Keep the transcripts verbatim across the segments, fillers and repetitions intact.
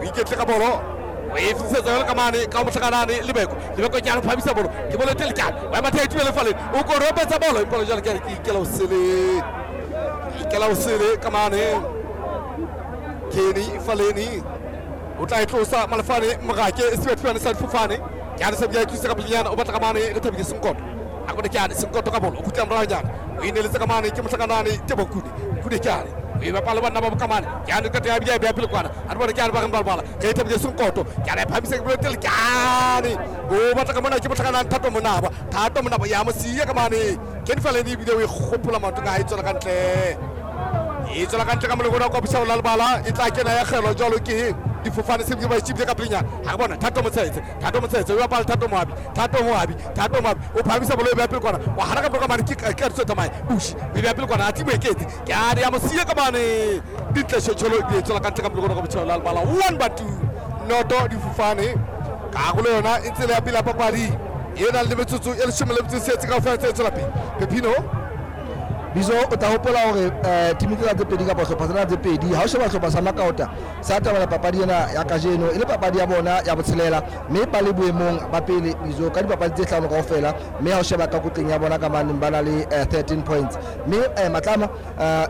O iketle ka bolo o e fitisetsa jwalo ka mane ka mohlakanane Lebeko Lebeko ke a phamisa bolo ke bolo tele kane wa matha itubele fale o koropetsa bolo empa jwale ke ke ikela o sele ikela o sele ka mane Kenny Faleni o tla e tlosa Malefane Morake Sebathwane sa difofane ke a se bja tlisa ka pelenyana o batla ka mane re thabile Senkoto a kone ke ane Senkoto ka bolo o khutla morao nyana o ineletse ka mane ke mohlakanane Tebokune Kune ke ane o e bapala banna ba bokamane ke ane ka ya bja bja pele kwana a re bone ke ane ba reng ba bala ke thabile Senkoto ke ane phamise ke bolo tele ke ane o batla ka mona ke mohlakanane Thato Monaba Thato Monaba ya mo siya ka mane Kenny Faleni ebile o e kgopola maoto ka ha e tswela ka ntle e tswela ka ntle ka molekona kwa bošao la lebala e tla kena ya kgelo jwalo ke difofane se ba itšibile ka pelenyana ga re bona Thato Motshetse Thato Motshetse o bapala Thato Moabi Thato Moabi Thato Moabi o phamisa bolo e beya pele kwana wa hana ka pele ka mane ke ka ditso tsamaye bushi o e beya pele kwana a timo eketse ke a re ya mo siya ka mane dintle tšhotšholo e tswela ka ntle ka molekona kwa bošao la lebala one ba two noto difofane karolo yona e tsela ya pele ya papadi e nang le metsotso e leshome le metso e tsheletse kaofela tse tswela pele Pepino Bizo o tla hopola hore eh team tsena tse pedi kapa hlopha tsena tse pedi ha o sheba hlopha sa Makaota sa tabela papadi ena ya kajeno e le papadi ya bona ya botshelela mme ba le boemong ba pele Bizo ka dipapadi tse hlano kaofela mme ha o sheba ka kotleng ya bona ka maneng ba na le thirteen points mme Matlama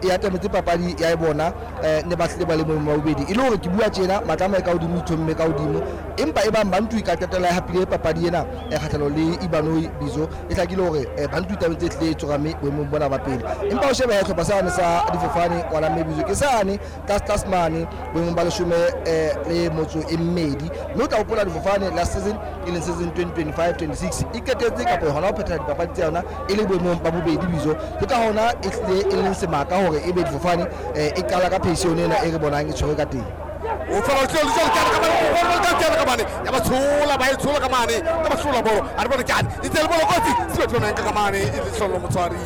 e atametse papadi ya bona ne ba hlile ba le boemong ba bobedi e le hore ke bua tjena Matlama e ka hodimo ithomme ka hodimo empa e bang Bantu e ka qetella e hapile papadi ena e kgahlano le Ibanoi Bizo e hlakile hore Bantu e tabetse hlile e tsorame boemong bona ba pele empa o sheba hlopha sane sa difofane ngwana mme Bizo ke sane tlase tlase mane boemong ba leshome le motso e mmedi mme o tla hopola difofane last season e leng season twenty twenty-five twenty-six e qetetse kapa hona ho phetha dipapadi tsa yona e le boemong ba bobedi Bizo ke ka hona e hlile e leng semaka hore e be difofane e qala ka phesione ena e re bonang e tshwere ka teng o fela o tlole jalo ka ka mane ka mane ya ba tshola ba e tshola ka mane ka ba tshola bolo a re bone kane e tsele bolo kotsi se ba ka mane e le hlolo motshwari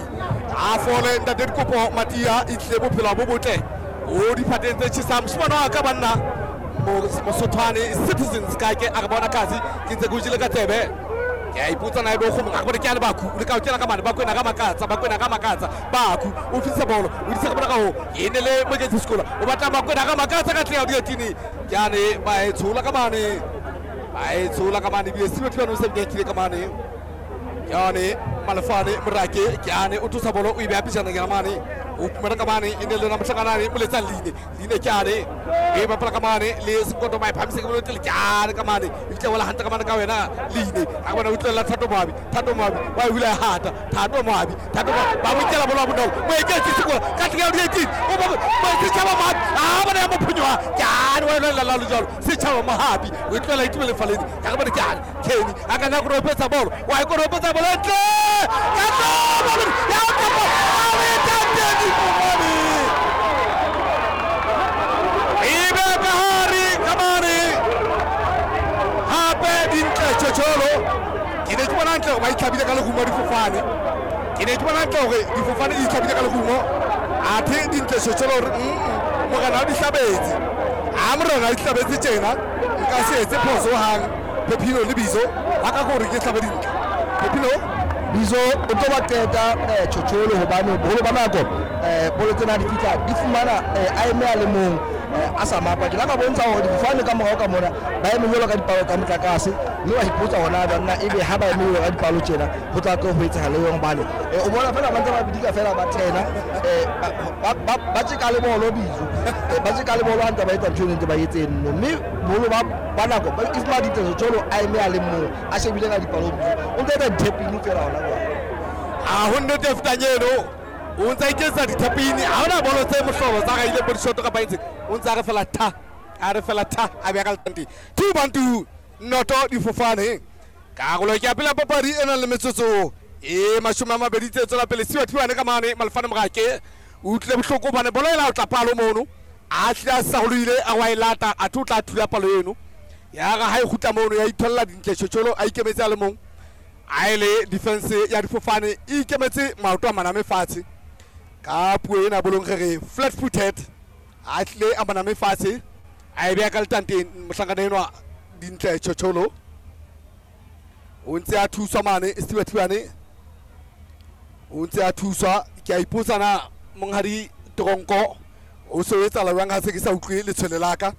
a fole ntate Dikopo Matia e tle bophelo bo botle o diphateng tse tjhesang moshimane wa ka banna Mosothwane Citizens ka ke a re bona kasi ke ntse ke o jele ka tsebe ke a ipotsa na ebe o kgomong a re bone ke a le Baku o le ka o kena ka mane Bakwena ka makatsa Bakwena ka makatsa Baku o fitisa bolo o disa ka bona ka ho e ne le Moketsi Sekola o batla Bakwena ka makatsa ka tlea dietini ke ane ba e tshola ka mane ba e tshola ka mane ebile Sebathwane o se kile ka mane ke ane Malefane Morake ke ane o thusa bolo o e beya pejana ke mane o pumana ka mane e ne le yona mohlakanane moletsa line line ke ane e bapala ka mane le Sekoto ba e phamise ke bolo tele ke ane ka mane e fitlha wela hantle ka mane ka wena line a bona o tlela Thato Moabi Thato Moabi wa e hula hata Thato Moabi Thato Moabi ba mo kela bolo bonolo mo eketse Sekola ka tlea di eighteen o ba ba setjhaba Moabi a bona ya mo phunyoha ke ane wa lwela la jalo setjhaba Moabi o tlela itumele faleni ka bona ke ane Kenny a ka na koropetsa bolo wa e koropetsa bolo ntle ka tlo ya kopo a we tate difofane ebe ka hare ka mane hape dintle tjhotjholo ke ne ke bona ntle hore ba itlhabile ka lerumo difofane ke ne ke bona ntle hore difofane di itlhabile ka lerumo athe dintle tjhotjholo hore morena o di hlabetse ha morena o di hlabetse tjena nka se etse phoso hang Pepino le Bizo ba ka gore ke hlabe dintle Pepino Bizo o tlo ba qeta tjhotjholo hobane boholo ba nako bolo tsena di fihla di fumana a eme a le mong a sa mapa ke la ka bontsha hore difofane ka morao ka mona ba eme jwalo ka dipalo tsa motlakase mme wa ipotsa hona banna ebe ha ba eme jwalo ka dipalo tjena ho tla tlo ho etsahala eng hobane o bona fela ba ntse ba bidika fela ba thena ba tjeka le bolo Bizo ba tjeka le bolo ha ntse ba etsa ntho e ntse ba etse nno mme boholo ba ba nako if ma ditso tjholo a eme a le mong a shebile ka dipalo Bizo o ntse etsa dithepini fela hona jwale ha ho nnete e fetang eno o ntse a iketsa dithepini ha hona bolo tse mohlolo tsa gaile bo dishoto kapa eng o ntse a re fela tha a re fela tha a beya ka letanteng two bantu noto difofane karolo ke ya pele ya papadi e nang le metsotso e mashome a mabedi tse tswela pele Sebathwane ka mane Malefane Morake o utlwile bohloko hobane bolo ela o tla palo mono a hlile a sarolohile a wa e lata athe o tla thula palo eno ya ga ha e kgutla mono ya itholla dintle tjhotjholo a ikemetse a le mong a ele defense ya difofane e ikemetse maoto a maname fatshe ka puo ena bolong re re flat footed a tlile a maname fatshe a e beya ka letanteng mohlankana enwa dintle tjhotjholo o ntse a thuswa mane Sebathwane o ntse a thuswa ke a ipotsa na monghadi Tronko o se o etsahala jwang ha se ke sa utlwe letshwele la ka.